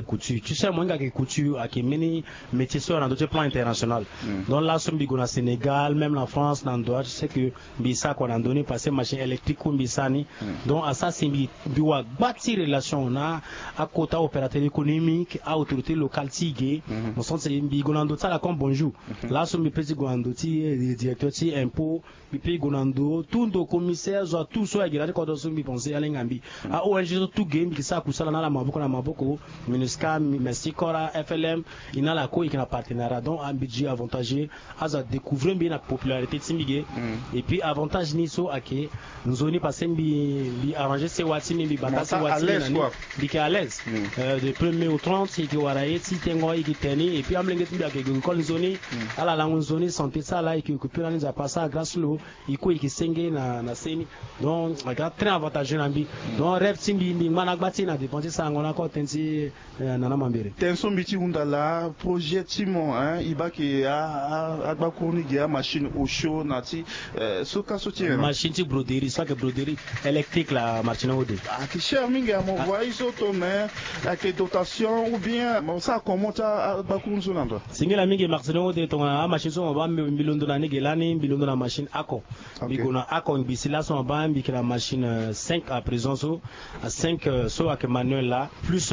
couture ti so ya mo hinga ayeke couture ayeke mbeni métier so ya na ndö ti plan international. Donc laso mbi gue na Sénégal même na France na ndo ya ti seke mbi sara kua na ndö ni parce que machine électrique kue mbi sara ni. Donc asara si mbi mbi wa gba ti relation na akota opérateur économique a autorité locale ti ge. Mo sens mbi gue na ndo ti ala comme bonjour. Laso mbi pe ti gue na ndo ti directeur ti impôt. Mbi pe gue na ndo tout ndo commissaire zo atout so ayeke na ti kodro so mbi pense alenga mbi. A ong so tout ge mbi ke sara kusala na ala maboko na maboko. Minusca, mercy kora, flm. E na ala kue e yeke na partenariat donc mbi gi avantage. Azo adécouvrir mbi na popularité ti mbi ge. Et puis avantage ni so ayeke nzoni parce que mbi mbi arranger sewa ti mbi mbi bata sewa ti mbi na ni. Mbi yeke à l'aise. De premier au trente e yeke wara ye ti tengo e yeke tene et puis amolenge ti mbi ayeke gue école nzoni. Ala lango nzoni santé ti ala e yeke occupé na ni nzapa asara grâce lo. E kue e yeke senge na na se ni. Donc aga très avantageux na mbi. Donc rêve ti mbi mbi ngba na gba ti e na dépend ti sarango na kotene ti nana mambere. Tënë so mbi ti hunda laa projet ti mo hein e baa ke agbakuru ni ge amachine osio na ti so ka so ti nyen? Machine ti broderie so ayeke broderie électrique la martino ode. Ayeke cher mingi amo voi so to mais ayeke dotation ou bien mo sara comment ti agbakuru ni so na ndo? Singila mingi martino ode tongana amachine so mo baa mbi londo na ni ge lani mbi londo na machine ako. Mbi gue na ako mbi si laso mo baa mbi yeke na machine cinq à présent so. Cinq so ayeke manuel laa plus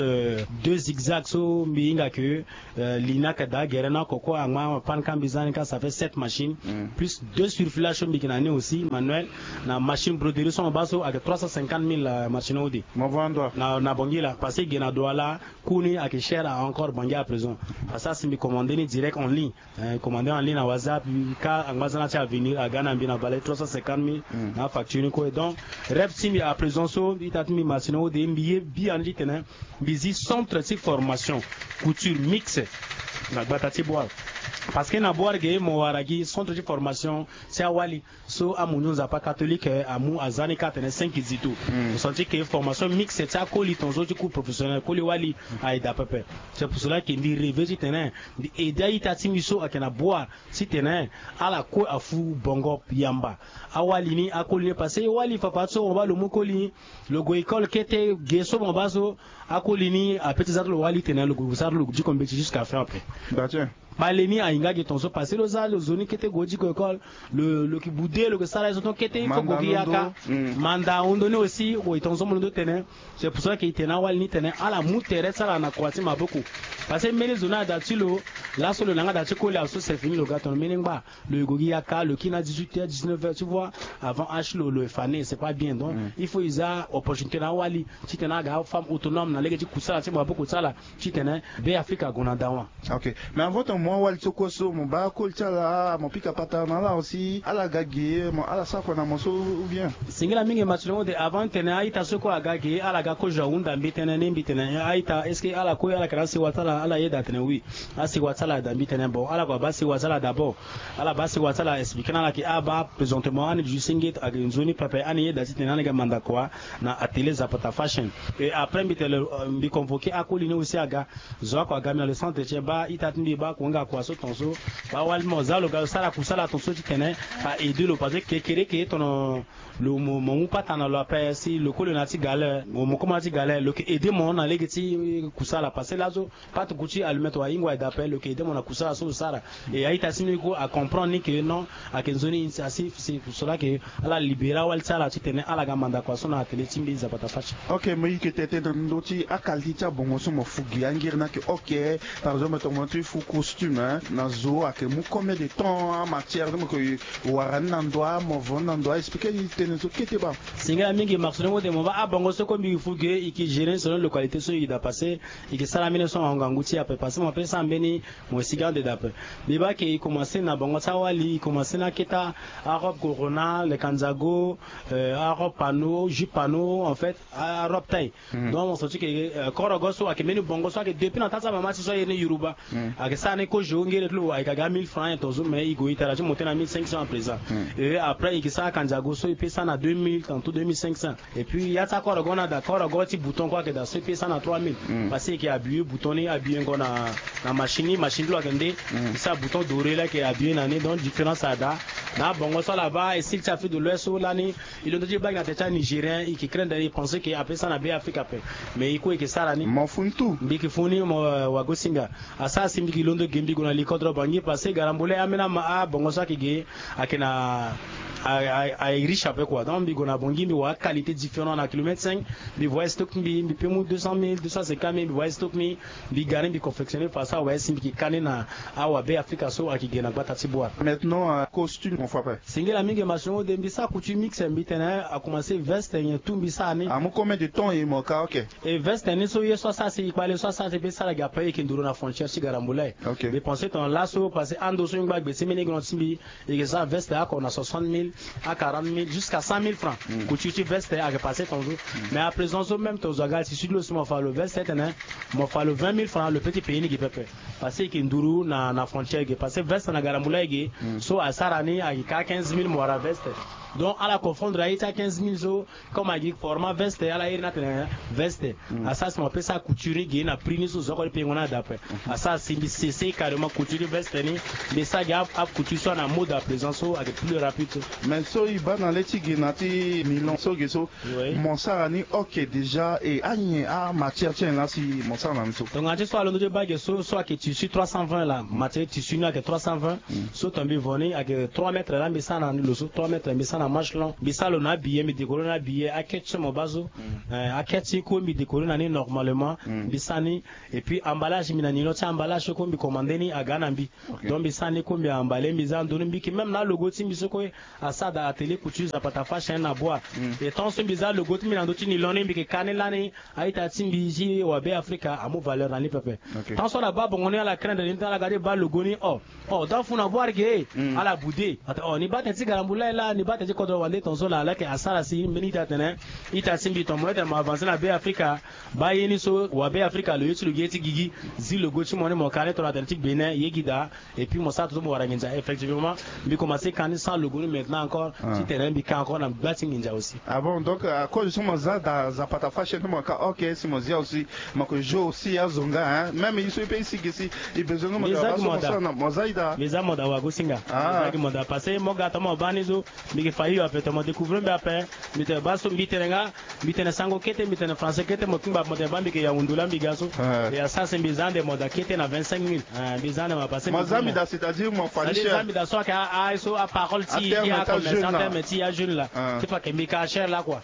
deux. Exact, so mbi hinga ke, euh, li ni ayeke daa gere na oko kue angba panne ka mbi za ni ka, ça fait sept machines, plus deux surfilage so mbi yeke na ni aussi manuel, na machine broderie so mo baa so ayeke trois cent cinquante mille, euh, machine ode. Mo va ndo na, na Bangui la, parce que e ge na Douala, coût ni ayeke cher encore Bangui à présent. Parce que asi mbi commandé ni direct en ligne. Eh, commandé en ligne na WhatsApp, ka angba za na ti avenir aga na mbi na valeur trois cent cinquante mille, na afacture ni kue. Donc rêve ti mbi à présent so, ita ti mbi machine ode, mbi ye biani titene mbi zi centre ti formation couture mixte na gbata ti Bouar. Parce que na Bouar ge mo wara gi centre ti formation ti awali so amunzu Nzapa catholique, eh, amu aza ni ka atene cinq zito. Mo senti ke formation mixte ti akoli tongaso ti cours professionnel, koli wali, aye daa pepe. C'est pour cela ke mbi rêver titene mbi aider a-ita ti mbi so ayeke na Bouar titene ala kue afu bongo yamba. Awali ni, akoli ni, parce que wali fafara ti so mo baa lo mu koli, lo gue école kete, ge so mo baa so, akoli ni ape ti za ti lo wali titene lo gue sara ti lo diko mbeti jusqu'à fin ape. Kpale ni ahinga ge tongaso, parce que lo za lo zo ni kete gue diko école, lo, lo yeke boude, lo yeke sara ye so tongaso kete, il faut gue gi yaka. Manda ahundu ni aussi, gue tongaso mo londo tene. C'est pour cela ke e tene na awali ni tene ala mu tere ti ala na kua ti maboko. Parce que mbeni zo ni ada ti lo, laso lo na yanga da ti koli awe so, c'est fini, lo ga tono mbeni ngba. Lo yeke gue gi yaka, lo kiri na dix-huit heures, dix-neuf heures, tu vois, avant âge ti lo, lo yeke fa ni, c'est pas bien. Donc il faut e za opportunité na awali titene aga afemme autonome na lege ti kusala ti maboko ti ala, titene Beafrika ague na dawa. Ok. Mais avant ton, mo awali so kue so, mo baa koli ti ala, mo pika patara na ala aussi, ala ga ge, mo, ala sara kua na mo so, ou bien? Singila mingi, match le monde, avant tene a-ita so kue aga ge, ala ga kozo ahunda mbi tene ni, mbi tene a-ita, est-ce que ala kue ala yeke na asewa ti ala? Ala yeda tene oui. Asewa ti ala daa, mbi tene bon, ala kue abaa asewa ti ala d'abord. Ala baa asewa ti ala, expliqué na ala ke abaa présentement ani duti senge, ayeke nzoni pepe, ani yeda titene ani ga manda kua na atelier Zapata Fashion. Et après mbi tene, euh, mbi convoqué akoli ni aussi aga. Zo oko aga mbi na le centre ti e, baa ita ti mbi, baa kua nga kua so tongaso. Baa wali mo za lo ga lo sara kusala tongaso titene a aider lo, parce que kekereke tono lo mo, mo mu patara na lo ape, si lo koli na ya ti gale, mo, mo koma na ya ti gale, lo yeke aider mo na lege ti kusala, parce que laso pâte couture allumette wa hingo aye daa ape, lo yeke aider mo na kusala so lo sara. Et a-ita ti mbi kue acomprendre ni ke non, ayeke nzoni, asi, si, cela ke ala libérer awali ti ala titene ala ga manda kua so na atelier ti mbi Zapata Fashion. Ok, mo yeke tene tene na ndö ti aqualité ti abongo so mo fu gi angiri ni ayeke, ok, par exemple, tongana mo ti fu costume, hein, na zo ayeke mu combien de temps, amatière so mo yeke wara ni na ndo, mo vo ni na ndo, expliqué ni tënë so kete baa. Singila mingi, maximum de mo baa abongo so kue mbi fu gi, e yeke gérer selon localité so e daa, parce que e yeke sara mbeni so na ngangu ti e ape, parce que mo pe sara mbeni, mo sigi ande daa ape. Mbi baa ke e commencé na bongo ti awali, e commencé na akete arobe corona, le kanzago, euh, arobe panneau, jupe panneau, en fait, arobe taille. Donc mo senti ke, euh, korogo so ayeke mbeni bongo so ayeke depuis na taa ti amama ti so aye ni Yoruba. Ayeke sara ni kozo ngere ti lo ayeke aga mille francs, hein, tongaso, mais e gue e tara ti monté na mille cinq cents à présent. Et après e yeke sara kanzago so e pe sara na deux mille, tantôt deux mille cinq cents. Et puis ya ti akorogo ni ada, korogo ti bouton kue ayeke daa so e pe sara na trois mille. Parce que e yeke habillé bouton ni, habillé ngo na, na machine ni, machine ti lo ayeke nde. E sara bouton doré laa, e yeke habillé na ni, donc différence ada. Na abongo so ala baa e style ti Afrique de l'Ouest so lani, e londo ti e baa gi na tere ti anigérien, e yeke craindre, e pensé ke ape sara na Beafrika ape. Mais e kue e yeke sara ni. Mo fu ni tout. Mbi yeke fu ni mo, euh, Wagosinga. Asara si mbi yeke londo ge mbi gue na likodro Bangui, parce que Garambole ambeni ama abongo so ayeke ge, ayeke na, a, a, a riche ape quoi. Donc mbi gue na Bangui, mbi wara qualité différent na kilomètre cinq. Mbi voyé stock ti mbi, mbi pe mu deux cent mille, deux cent cinquante mille, mbi voyé stock ti mbi, mbi ga ni, mbi confectionné façon awe si mbi yeke ka ni na awa Beafrika so ayeke ge na gbata ti Bouar. Maintenant, euh, costume, mon frère. Singila mingi, machine ode, mbi sara couture mixte, mbi tene, a commencé veste nyen tout mbi sara ni. Amu combien de temps e mo ka, ok? E veste ni so ye so asara si, e kpale so asara si e pe sara gi ape, e yeke nduru na frontière ti Garambole. Ok. Mbi pensé tongana laso, parce que ando so e ngba gbe ti mbeni grand ti mbi, e yeke sara veste oko na soixante mille, à quarante mille, jusqu'à cent mille francs. Couture ti veste ayeke passé tongaso. Mais à présent so même tongaso aga tissu ti lo si mo fa lo veste tene, mo fa lo vingt mille francs, lo pe ti payer ni gi pepe. Parce que e yeke nduru na, na frontière ge. Parce que veste na Garambole e ge, so asara ni ayeke ka quinze mille mo wara veste. Donc ala confondre aye ti a quinze mille so, comme ayeke format veste, ala iri ni atene veste. Asara si mo pe sara couture ge na prix ni so zo oko ti payengo ni ada ape. Asara si mbi cessé carrément couture veste ni, mbi sara gi a, a couture so na mode à présent so ayeke plus rapide so. Mais so e baa na le ti ge na ti Milan so ge so, oui, mo sara ni, ok, déjà, e anyen amatière ti nyen laa si mo sara na ni so? Tongana ti so alondo ti baa ge so, so ayeke tissu trois cent vingt laa, matière tissu ni ayeke trois cent vingt. So tongana mbi vo ni ayeke trois mètres laa mbi sara na ni, lo so trois mètres mbi sara Machelon mbi sara lo na abillet, mbi décorer na abillet, akete so mo baa so. Akete so kue mbi décorer na ni normalement. Mbi sara ni. Et puis emballage, mbi na nilon ti emballage so kue mbi commande ni aga na mbi. Donc mbi sara ni kue mbi emballer, mbi za ndoni mbi yeke même na alogo ti mbi so kue asara daa atelier couture Zapata Fashion na Boa. Et tant so mbi za alogo ti mbi na ndö ti nilon ni, mbi yeke ka ni lani. A-ita ti mbi ti wa Be Afrika amu valeur na ni pepe. Tant so ala baa bongo ni, ala craindre ni ti ala ga ti baa logo ni. Oh, oh, da fu na voir ke ala boude. Ata, oh, ni baa tënë ti galambu laa e laa, ni baa tënë ti kodro wande tongaso laa. Ala yeke asara si mbeni ita atene, ita ti mbi, tongana mo ye tene mo avancer na Be Afrika, baa ye ni so wa Be Afrika lo ye ti lo gi ye ti gigi. Zi logo ti mo ni, mo ka ni tongana atene ti Bénin, ye gi daa. Et puis mo sara tongaso mo wara nginza. Effectivement mbi commencer ka ni sans logo ni maintenant encore. Ti tene mbi ka encore na gba ti nginza aussi. Ah bon, donc à cause so mo za daa Zapata Fashion ti mo ka, ok, si mo zia aussi mo yeke jouer aussi azo nga, hein. Même ye so e pe e si ge si e besoin nga mo daa, mo za ye daa. Mbi za mo daa wagosinga. Mbi za gi mo daa parce que mo ga tongaso mo baa ni so, mbi yeke fa hio ape, tongana mo découvrir mbi ape. Mbi tene baa so, mbi tene nga, mbi tene sango kete, mbi tene français kete, mo kingba mo tene baa mbi yeke Yaoundou laa mbi ga so. E asara si mbi za ande mo daa kete na vingt-cinq mille. Mbi za ande mo daa parce que mo za mbi daa, c'est-à-dire mo fa ni cher. Za mbi daa so ayeke a, a, so aparole ti, ti acommerçant, terme ti ajeune laa. Ti fa ke mbi ka cher laa quoi.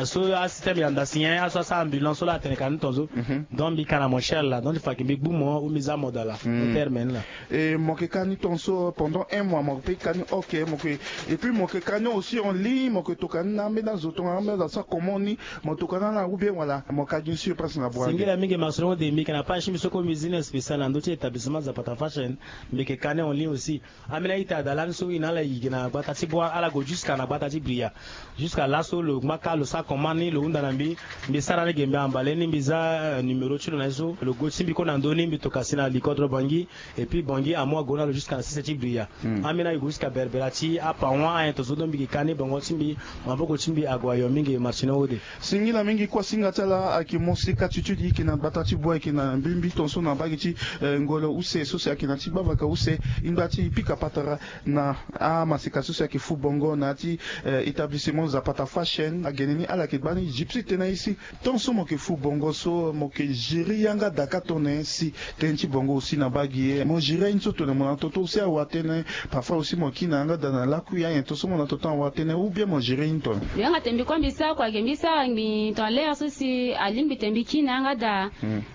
So asystème ya nda si nyen, aso asara ambulance so laa atene ka ni tongaso. Donc mbi ka na mo cher laa, donc ti fa ke mbi gbu mo ou mbi za mo daa laa. Terme ni laa. Et mo yeke ka ni tongaso pendant un mois, mo yeke pe ka ni, ok, mo yeke, et puis mo yeke ka ni aussi en ligne, mo yeke toka ni na ambeni azo tongana ambeni azo asara commande ni, mo toka ni ala ou bien wala mo ka gi ni sur place na Boa? Singila mingi Marcelin Ode, mbi yeke na page ti mbi so kue mbi zi ni spécial na ndö ti établissement Zapata Fashion. Mbi yeke ka ni en ligne aussi. Ambeni a-ita daa lani so e na ala e gi na gbata ti Boa, ala gue jusqu'à na gbata ti Bria. Jusqu'à laso lo ngba ka lo sara commande ni, lo hunda na mbi. Mbi sara ni ge, mbi emballer ni, mbi za, euh, numéro ti lo na ye so. Lo gue ti mbi kue na ndö ni, mbi toka si na li kodro Bangui. Et puis Bangui amu ague na lo jusqu'à na sese ti Bria. Ambeni aye gue jusqu'à Berbera ti aPawan, ayen tongaso, donc mbi ke ka ni bongo ti mbi, maboko ti mbi ague ayo mingi, Marcelin Ode. Singila mingi. Kuasinga ti ala ayeke moseka ti ti e yeke na gbata ti Boa, ayeke na mbimbi tongaso na mbage ti, eh, ngolo use so si ayeke na ti gbavaka use, e ngba ti pika patara na amaseka so si ayeke fu bongo na ya ti, eh, établissement Zapata Fashion. Agene ni ala yeke gbani, e gi ti tene na e si, tant so mo yeke fu bongo so, mo yeke gérer yanga daa ka tongana nyen si tënë ti bongo aussi na mbage e? Mo gérer aye ni so tongana mo na toto aussi awa tënë, parfois aussi mo kiri na yanga daa na lakui, ayen tongaso mo na toto awa tënë, ou bien mo gérer aye ni tongana nyen? Mbi yanga tene mbi kue mbi sara kua ge, mbi sara ngbii tongana l'heure so si alingbi tene mbi kiri na yanga daa.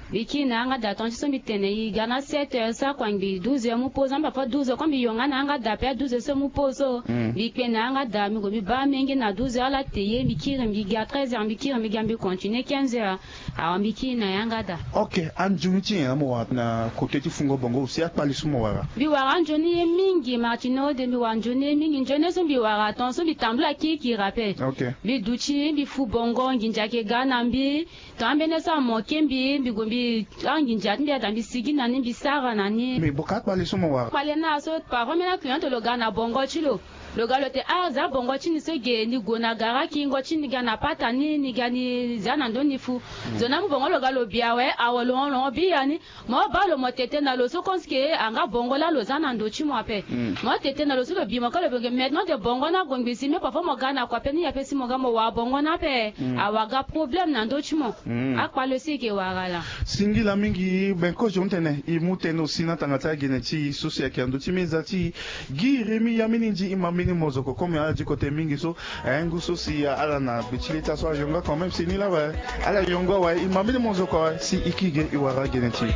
Mbi kiri na yanga daa, tongana ti so mbi tene e ga na sept heures, sara kua ngbii douze heures mu pause, amba parfois douze heures kue mbi yonga na yanga daa, pe a douze heures so mu pause so. Mbi kpe na yanga daa, mbi gue mbi baa amenge na douze heures, ala te ye, mbi kiri mbi ga treize heures, mbi kiri mbi ga, mbi continuer quinze heures. Awa mbi kiri na yanga daa. Ok, anzoni ti nyen mo wara na côté ti fungo bongo aussi, akpale so mo wara? Mbi wara anzoni ye mingi, Marcelin Ode, mbi wara nzoni ye mingi. Nzoni ye so mbi wara, tongaso mbi tambula kirikiri ape. Ok. Mbi duti, mbi fu bongo, nginza ayeke ga na mbi. Tongana ambeni so amoke mbi, mbi gue mbi, anginza ti mbi ada mbi sigi na ni, mbi sara na ni. Mais boka akpale so mo wara? Akpale na so, parfois ambeni aclient lo ga na bongo ti lo. Lo ga lo te, ah, za bongo ti ni so ge, ni gue na gara kingo ti ni ga na pata ni, ni ga ni za na ndö ni fu. Zo ni amu bongo lo ga lo bi awe, awe lo hon lo hon biani. Mo baa lo, mo tete na lo so, comme si ke anga bongo laa lo za na ndö ti mo ape. Mo tete na lo so, lo bi mo ka lo bi mo ge. Maintenant de bongo ni ague ngbii si, me parfois mo ga na kua pe ni ape si mo ga mo wara bongo ni ape. Awa ga problème na ndö ti mo. Akpale so e yeke wara laa. Singila mingi. Ben kozo, tene e mu tënë aussi na tanga ti agene ti e so si ayeke na ndö ti meza ti e. Guy Rémy, ya mbeni ndi, e ma mbeni mozoko comme ala di kote mingi so. Eh, ngu so si ala na gbe ti leta so ayonga quand même si ni laa awe. Ala yonga awe, e ma mbeni mozoko awe si e kiri ge e wara gene ti e.